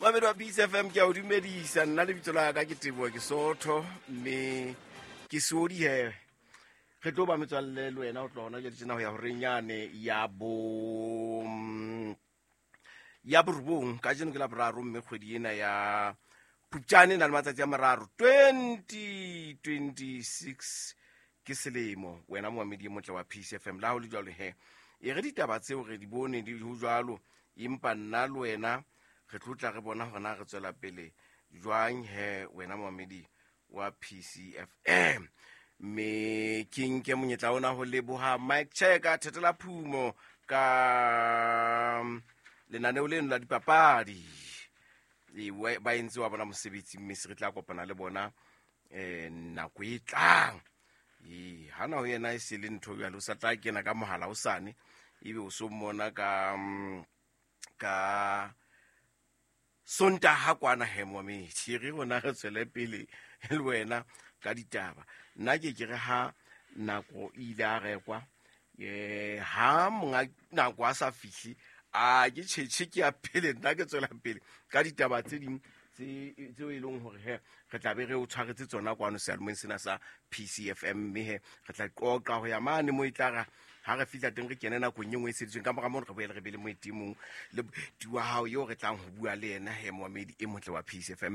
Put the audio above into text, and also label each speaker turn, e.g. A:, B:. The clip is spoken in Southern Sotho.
A: Mamedi wa Peace FM, ke a o dumedisa. Nna lebitso la ka ke Teboa, ke Sotho mme ke seodi he. Re tlo ba metswalle le wena ho tloha hona jwale tjena ho ya horeng yane ya bo ya borobong. Kajeno ke la boraro mme kgwedi ena ya Phupjane e na le matsatsi a mararo 2026 ke selemo. Wena moamedi e motle wa Peace FM, la ho le jwalo he, e re ditaba tseo re di bone di ho jwalo, empa nna le wena re tlo tla re bona hore na re tswela pele jwang he, wena moamedi wa PCFM. Mme ke nke monyetla ona ho leboha Mike Cheka Thetela Phumo ka lenaneo leno la dipapadi. E, ba entse wa bona mosebetsi, mme se re tla kopana le bona nako e tlang. Ee, hana ho yena e se le ntho jwale, o sa tla kena ka mohala o sane, ebe o so mmona ka Sontaha kwana he. Moametši re rona re tswele pele le wena ka ditaba. Nna ke ke re ha nako e ile a rekwa, ha monga nako a sa fihle, a ke tšhetšhe ke ya pele. Nna ke tswela pele ka ditaba tse ding tseo e leng hore he re tla be re o tshwaretse tsona kwano sealomeng sena sa PCFM, mme he re tla qoqa ho ya mane mo e tla ra ha re fihla teng re kene nakong e nngwe e seditsweng. Ka mora mono re boele re be le moeti e mong le moeti wa hao eo re tlang ho bua le yena he, moamedi e motle wa PCFM.